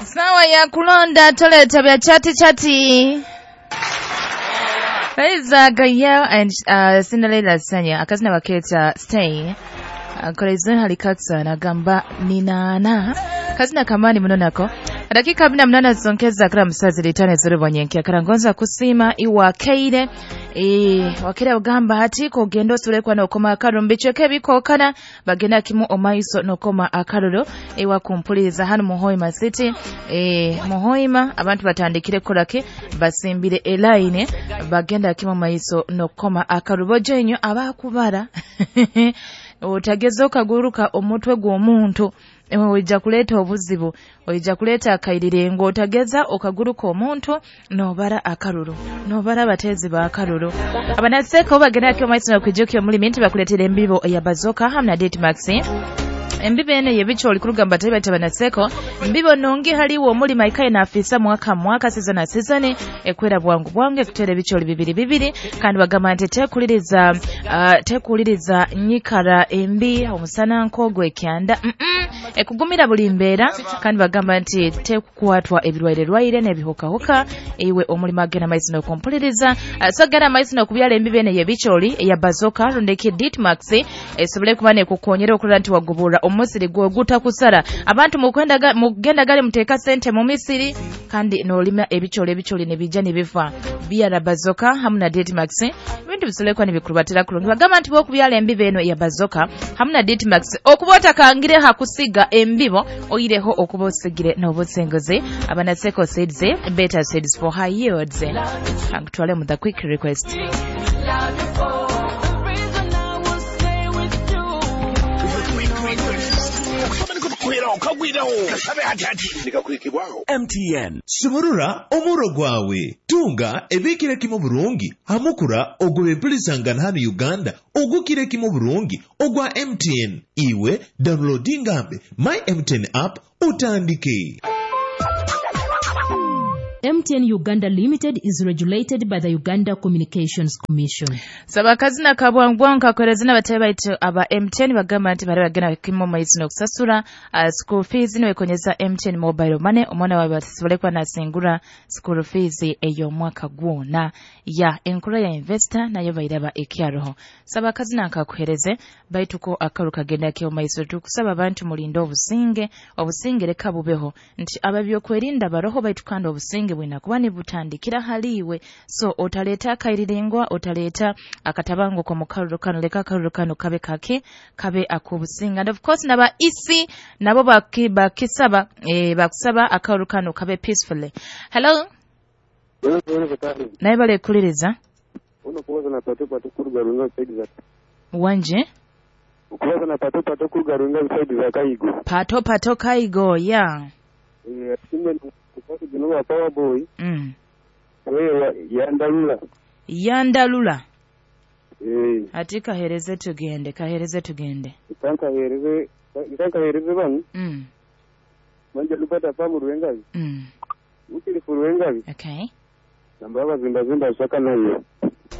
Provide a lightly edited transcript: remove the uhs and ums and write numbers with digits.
Sawa ya kulonda toleta bya chati chati. That Gael and Cinderella Sanya akazina baketa stay. Kolezon halikatsa nagamba ninana kazina kamani muno nako dakika 18 zonkeza kala musazi litane zirubonyenke karangonza kusima iwakeire wakira ugamba hati kogenda osulekwa nokoma akaruru mbicheke bikokana bagenda kimu omaiso nokoma akaruru ewa kumpuliza hano Muhoima City. Muhoima abantu batandikire kolake basimbire elaine bagenda kimu omaiso nokoma akaruru bojenyo abakubara otageza okaguruka omutwe gw'omuntu ojja kuleeta obuzibu, ojja kuleeta akairirengo. Otageza okaguruka omuntu nobara akaruru, nobara abatezi ba akaruru. Abanaseko bagenda kyo maiso kwijukyo omulimi nti bakuleetera embibo ya Bazoka hamwe na Date Max. Embibo ene yebicho olikurugamba tali baita banaseko mbibo nongi haliwo omulima ikaye na afisa mwaka mwaka season na season ekwera bwangu bwangu ekutera ebicholi bibiri bibiri kandi bagamba nti tekuliriza nyikara embi omusana nkogwe ekyanda ekugumira buli mbeera kandi bagamba nti tekukwatwa ebirwaire rwaire n'ebihukahuka iwe omulima agenda maiso n'okumpuliriza. So genda maiso n'okubyala embibo ene yebicholi eya Bazoka rundeki Date Max esobole kuba nekukonyera okulora nti wagubura omusiri gwoguta kusara abantu mugenda gale muteka sente mu misiri kandi nolima ebicholi nebijja nebifa bya Bazoka hamwe na Date Max ebintu bisolekwa nibikurubatira kulungi. Bagamba nti bokubyala embibo eno ya Bazoka hamwe na Date Max okuba otakangire hakusiga embibo oyireho okuba osigire n'obusinguzi. Abanaseko seeds better seeds for high yields. Angutwale mu the quick request. MTN sumurura omuro gwawe tunga ebikire kimu burungi hamukura ogw'empulizangana hano Uganda ogukire kimu burungi ogwa MTN. Iwe downloadingambe my MTN app utandike. MTN Uganda Limited is regulated by the Uganda Communications Commission. Saba kazina kabwangwa nkakoreza n'abatari baitu aba MTN bagamba nti bari bagenda kimo maiso n'okusasura school fees niwekonyeza MTN mobile money omwana wawe basobole kuba nasingura school fees ey'omwaka gwona ya enkura ya investor nayo bairaba ekyaroho. Saba kazina nkakuhereze baitu ko akaru kagenda kyo maiso tukusaba abantu mulinde obusinge obusinge leka bubeho nti ababyokwerinda baroho baitu kandi obusinge bwina kuba nibutandikira haliwe. So otaleta akairirengwa otaleta akatabango ko mukaruru kano leka akaruru kano kabe kake kabe akubusinga. And of course naba isi nabo bakisaba bakusaba akaruru kano kabe peacefully. Hello. Naye bale kuliriza uno kubaza na pato pato kurugarunga side za wanje ukubaza na pato pato kurugarunga side za Kaigo pato pato Kaigo ya simbe kuno power boy wewe yandalula yandalula ati kahereze tugende nkanka hereze banu manje lupata famu ruwengazi ukili furuwengazi okay namba zimba zimba shaka nayo